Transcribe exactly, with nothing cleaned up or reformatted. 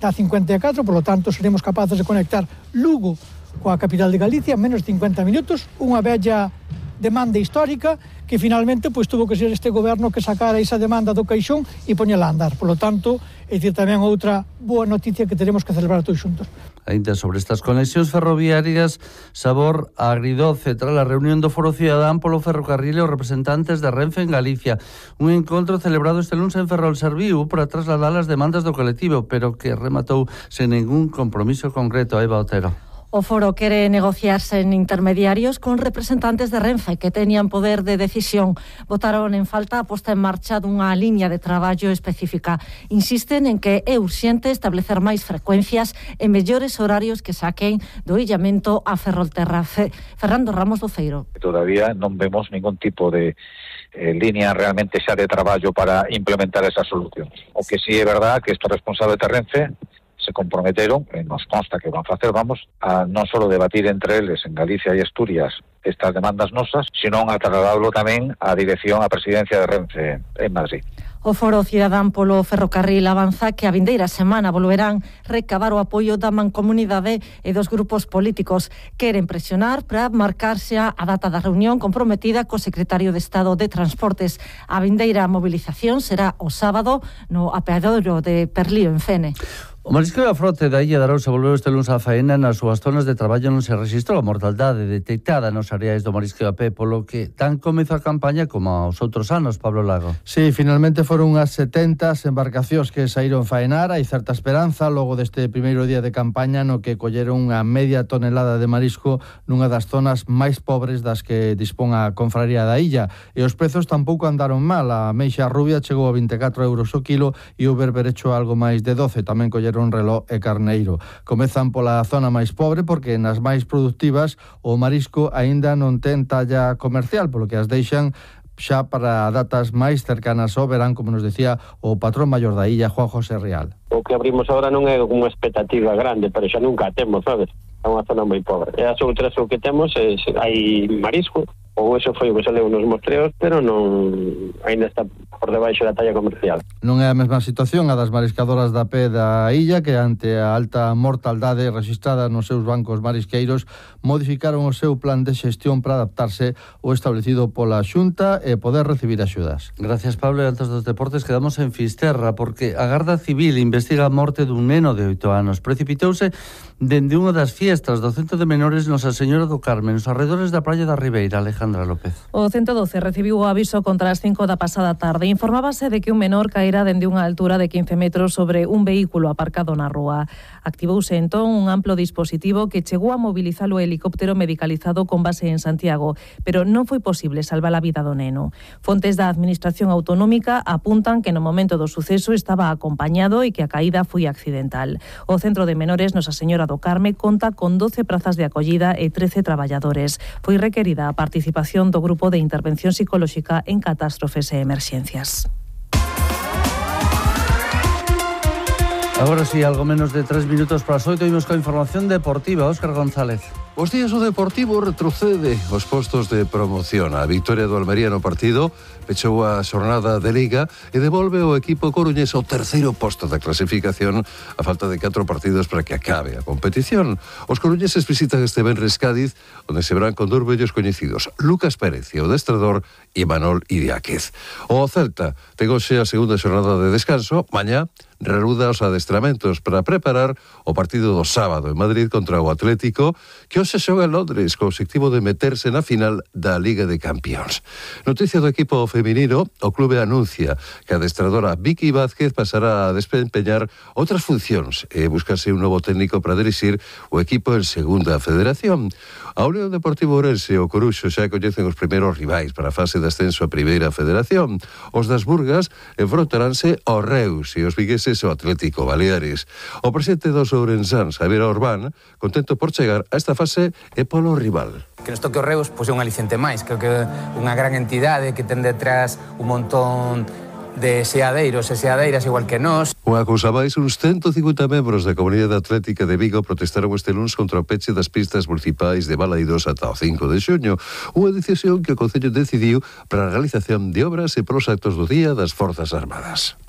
da cincuenta e catro, por lo tanto seremos capaces de conectar Lugo coa capital de Galicia en menos de cincuenta minutos, unha bella demanda histórica que finalmente pois tuvo que ser este goberno que sacara esa demanda do caixón e poñela a andar. Por lo tanto, é dicir, tamén outra boa noticia que teremos que celebrar todos xuntos. Ainda sobre estas conexións ferroviarias, sabor agridoce tras a reunión do Foro Cidadán polo ferrocarril e os representantes de Renfe en Galicia. Un encontro celebrado este luns en Ferrol serviu para trasladar as demandas do colectivo, pero que rematou sen ningún compromiso concreto. Eva Otero. O foro quere negociarse en intermediarios con representantes de Renfe que tenían poder de decisión. Votaron en falta a posta en marcha dunha liña de traballo específica. Insisten en que é urxente establecer máis frecuencias e mellores horarios que saquen do illamento a Ferrolterra. Fe, Fernando Ramos Doceiro. Todavía non vemos ningún tipo de eh, línea realmente xa de traballo para implementar esa solución. O que sí é verdad que estos responsables de Renfe se comprometeron, e nos consta que van a facer, vamos, a non só debatir entre eles en Galicia e Asturias estas demandas nosas, sino a trasladarlo tamén á dirección, á presidencia de Renfe en Madrid. O Foro Cidadán polo Ferrocarril avanza que a vindeira semana volverán recabar o apoio da mancomunidade e dos grupos políticos. Queren presionar para marcarse a data da reunión comprometida co secretario de Estado de Transportes. A vindeira movilización será o sábado no apeadoiro de Perlío en Fene. O marisqueo da frote da Illa de Arousa volveu este luns a faena. Nas súas zonas de traballo non se rexistrou a mortaldade detectada nos areais do marisqueo a pé, polo que tan comezou a campaña como aos outros anos, Pablo Lago. Sí, finalmente foron unhas setenta embarcacións que saíron faenar. Hai certa esperanza logo deste primeiro día de campaña no que colleron unha media tonelada de marisco nunha das zonas máis pobres das que dispón a confraría da illa. E os prezos tampouco andaron mal. A meixa rubia chegou a vinte e catro euros o kilo e o berberecho algo máis de doce. Tamén colleron un reloj e carneiro. Comezan pola zona máis pobre porque nas máis productivas o marisco aínda non ten talla comercial, polo que as deixan xa para datas máis cercanas ao verán, como nos decía o patrón maior da illa, Juan José Real. O que abrimos agora non é unha expectativa grande, pero xa nunca temos, sabes? É unha zona moi pobre. E as outras o que temos é, hai marisco, ou eso foi o que saleu nos mostreos, pero non ainda está por debaixo da talla comercial. Non é a mesma situación a das mariscadoras da pé da illa, que ante a alta mortaldade registrada nos seus bancos marisqueiros modificaron o seu plan de xestión para adaptarse ao establecido pola Xunta e poder recibir axudas. Gracias, Pablo. E antes dos deportes quedamos en Fisterra, porque a Garda Civil investiga a morte dun neno de oito anos. Precipitouse dende unha das fiestas do Centro de Menores Nosa Señora do Carmen, nos arredores da Praia da Ribeira. Alejandra López. O ciento doce recibiu o aviso contra as cinco da pasada tarde. Informábase de que un menor caera dende unha altura de quince metros sobre un vehículo aparcado na rúa. Activouse entón un amplo dispositivo que chegou a mobilizar o helicóptero medicalizado con base en Santiago, pero non foi posible salvar a vida do neno. Fontes da Administración Autonómica apuntan que no momento do suceso estaba acompañado e que a caída foi accidental. O Centro de Menores Nosa Señora do Carme conta con doce prazas de acollida e trece traballadores. Foi requerida a participación do Grupo de Intervención Psicolóxica en Catástrofes e Emerxencias. Agora sí, algo menos de tres minutos para as oito, imos coa información deportiva. Óscar González. Os días o Deportivo retrocede os postos de promoción. A victoria do Almería no partido pechou a xornada de Liga e devolve o equipo coruñés ao terceiro posto da clasificación a falta de catro partidos para que acabe a competición. Os coruñeses visitan este venres Cádiz, onde se verán con dous vellos coñecidos, Lucas Pérez e o destrador Imanol Idiáquez. O Celta ten hoxe a segunda xornada de descanso. Mañá reanuda os adestramentos para preparar o partido do sábado en Madrid contra o Atlético, que hoxe xoga en Londres co obxectivo de meterse na final da Liga de Campións. Noticia do equipo feminino, o clube anuncia que a adestradora Vicky Vázquez pasará a desempeñar outras funcións e buscarse un novo técnico para dirixir o equipo en segunda federación. A Unión Deportivo Ourense e o Coruxo xa coñecen os primeiros rivais para a fase de ascenso a primeira federación. Os das Burgas enfrontaránse ao Reus e os vigueses o Atlético Baleares. O presidente dos ourensáns, Javier Orbán, contento por chegar a esta fase e polo rival. Que nos toque o Reus, pois é un aliciente máis. Creo que unha gran entidade que ten detrás un montón de seadeiros e seadeiras igual que nós. Unha cousa máis, uns ciento cincuenta membros da Comunidade Atlética de Vigo protestaron este luns contra o peche das pistas municipais de Balaidos ata o cinco de xuño, unha decisión que o Concello decidiu para a realización de obras e pros actos do Día das Forzas Armadas.